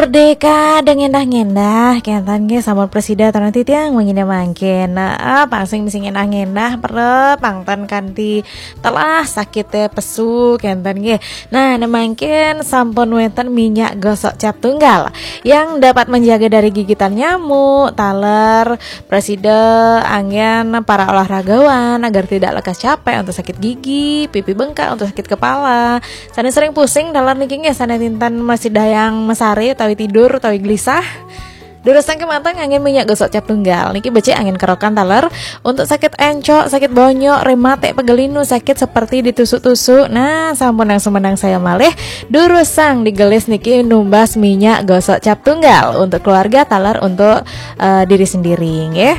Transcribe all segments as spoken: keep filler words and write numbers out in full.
Merdeka dang ngendah-ngendah, kenten nggih sampun presida taran titiang wengi mangkin. Nah, pang sing misi ngendah-ngendah, perep pang ten kanthi telah sakite pesu, kenten nggih. Nah, ne mangkin sampun wenten minyak gosok cap tunggal yang dapat menjaga dari gigitan nyamuk, taler, presida anggen para olahragawan agar tidak lekas capek untuk sakit gigi, pipi bengkak untuk sakit kepala. Sane sering pusing taler niki nggih sane tinten masih dayang mesare utawi tidur utawi gelisah. Durusang kemanten nganggen minyak gosok cap tunggal. Niki becik anggen kerokan taler untuk sakit encok, sakit bonyok, rematik, pegelinu, sakit seperti ditusuk-tusuk. Nah, sampun nang sumenang saya malih. Durusang digelis niki numbas minyak gosok cap tunggal untuk keluarga taler untuk eh, diri sendiri nggih.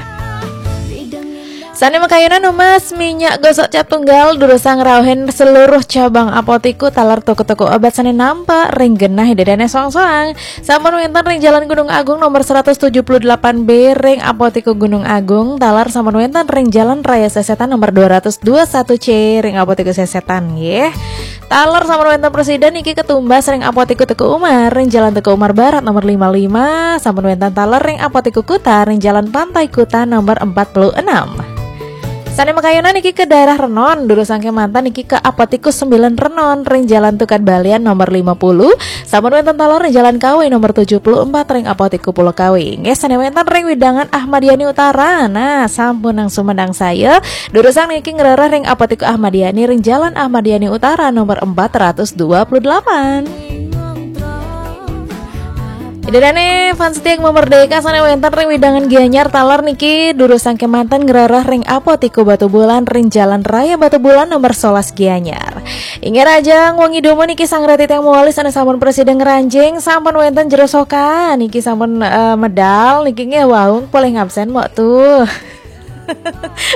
Sane makayunan numbas minyak gosok cap tunggal durusang rauhin seluruh cabang apotiku taler toko-toko obat sane nampak ring genah ida dane soang-soang. Sampun wenten ring Jalan Gunung Agung nomor seratus tujuh puluh delapan B ring Apotiku Gunung Agung, taler sampun wenten ring Jalan Raya Sesetan nomor dua ratus dua satu C ring Apotiku Sesetan nggih. Taler sampun wenten presida niki ketumbas ring Apotiku Teuku Umar ring Jalan Teuku Umar Barat nomor lima lima, sampun wenten taler ring Apotiku Kuta ring Jalan Pantai Kuta nomor empat puluh enam. Sane makayunan niki ke daerah Renon, durusang kemanten niki ke Apotiku sembilan Renon ring Jalan Tukad Balian nomor lima puluh, sampun wenten taler ring Jalan Kawi nomor tujuh puluh empat ring Apotiku Pulau Kawi. Nggih, sane wenten ring wewidangan Ahmad Yani Utara. Nah, sampun nang sumenang saya. Durusang niki ngrereh ring Apotiku Ahmad Yani ring Jalan Ahmad Yani Utara nomor empat ratus dua puluh delapan. Ida dane fans setia Gema Merdeka sane wenten ring wewidangan Gianyar taler niki durusang kemanten ngrereh ring Apotiku Batubulan ring Jalan Raya Batubulan nomor sebelas Gianyar. Inggih, rahajeng wengi dumun niki sang reti tiang mawali sane sampun presida ngranjing, sampun wenten jero sokan niki sampun eh, medal niki nggih wau polih ngabsen mok tuh.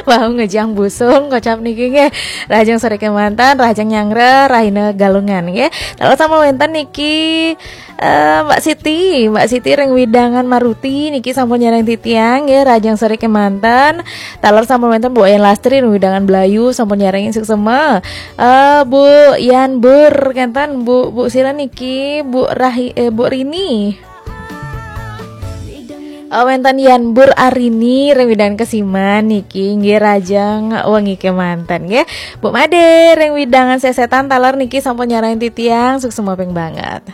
Wau ngejang busung kocap niki nggih. Rahajeng sore kemanten, rahajeng nyanggra, rahina Galungan nggih. Taler sampun wenten niki eh, Mbak Siti, Mbak Siti ring wewidangan Maruti niki sampun nyarengin titiang nggih, rahajeng sore kemanten. Taler sampun wenten Bu Yan Lastri ring wewidangan Blayu sampun nyarengin suksma. Eh, Bu Yan Bur kenten, Bu Bu sira niki, Bu Rahi eh, Bu Rini. Oh, wenten Yan Bur Arini ring wewidangan Kesiman niki nggih, rahajeng wengi kemanten nggih. Bu Made ring wewidangan Sesetan taler niki sampun nyarengin titiang, suksma ping banget.